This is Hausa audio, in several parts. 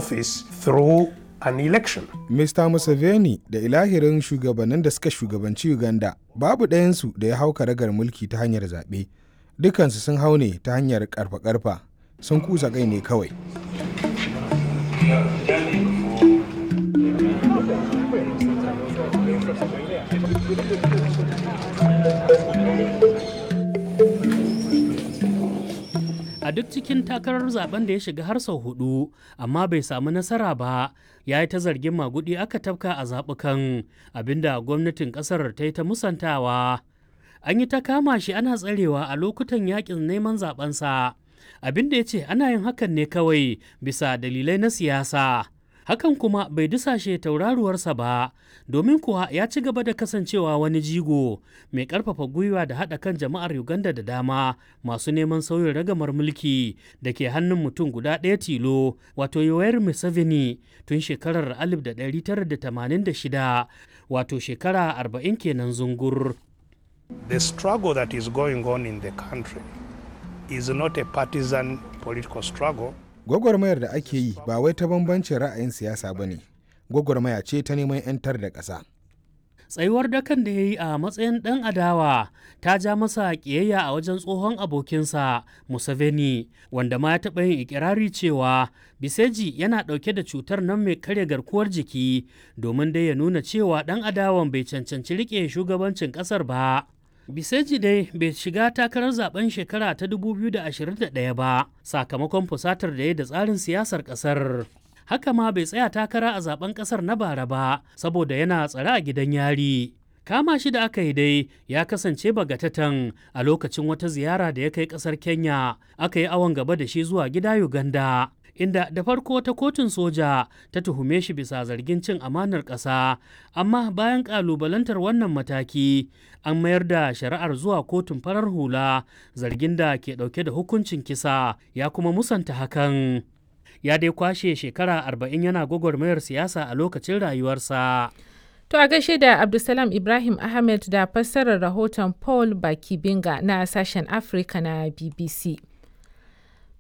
Office through an election. Mr. Museveni da ilahirin shugabannin da suka shugabanci Uganda babu ɗayansu da ya hau karagar mulki ta hanyar zaɓe. Dukansu sun hau ne ta hanyar karfa-karfa, sun kusa kai ne kawai. A duk cikin takarar zaben da ya shiga har sau hudu, amma bai samu nasara ba, ya yi ta zargin magudi aka tafka a zaɓukan, abinda gwamnatin ƙasar ta yi ta musantawa. An yi ta kama shi ana tsarewa a lokutan yakin neman zabensa, abinda ya ce ana yin hakan ne kawai bisa dalilai na siyasa. Hakan kuma bai dusashe tauraruwarsa ba, domin kuwa ya ci gaba da kasancewa wani jigo mai karfafa gwiwa da haɗa kan jama'ar Uganda da dama masu neman sauyin ragamar mulki da ke hannun mutum guda ɗaya tilo, wato Yoweri Museveni, tun shekarar 1986, wato shekara 40 kenan zungur. The struggle that is going on in the country is not a partisan political struggle. Gwagwarmayar da ake yi ba wai ta bambancin ra'ayin siyasa ba ne, gwagwarmaya ce ta neman 'yantar da ƙasa. Tsayuwar dakan da ya yi a matsayin ɗan adawa ta ja masa ƙiyayya a wajen tsohon abokinsa Museveni, wanda ma ya taɓa yin ikirari cewa Biseji yana ɗauke da cutar nan mai karya garkuwar jiki, domin dai ya nuna cewa ɗan adawan bai cancanci riƙe shugabancin ƙasar ba. Biseji dai bai shiga takarar zaben shekara ta 2021 ba sakamakon fusatar da ya da tsarin siyasar kasar. Haka ma bai tsaya takara a zaben kasar na bara ba saboda yana tsare a gidan yari. Kama shi da aka yi dai ya kasance bagatatan a lokacin wata ziyara da ya kai kasar Kenya, aka yi awon gaba da shi zuwa gida Uganda, inda da farko ta kotun soja ta tuhume shi bisa zargin cin amanar ƙasa, amma bayan ƙalubalantar wannan mataki an mayar da shari'ar zuwa kotun farar hula, zargin da ke ɗauke da hukuncin kisa, ya kuma musanta hakan. Ya dai kwashe shekara 40 yana gwagwarmayar siyasa a lokacin rayuwarsa. To a gaishe da Abdulsalam Ibrahim Ahmed da fassarar rahoton Paul Bakibinga na sashen Afirka na BBC.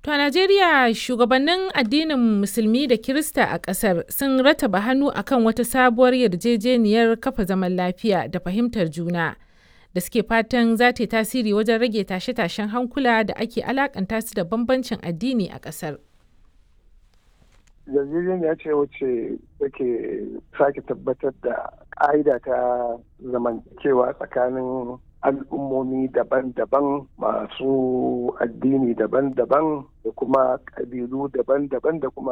To a Najeriya, shugabannin addinin Musulmi da Kirista a ƙasar sun rataba hannu akan wata sabuwar yarjejeniyar kafa zaman lafiya da fahimtar juna da suke fatan za ta yi tasiri wajen rage tashe-tashen hankula da ake alakanta su da bambancin addini a ƙasar. Yarjejeniya ce wacce take sake tabbatar da ƙa'ida ta zamantakewa tsakanin al'ummomi daban-daban masu addini daban-daban da kuma ƙabilu daban-daban da kuma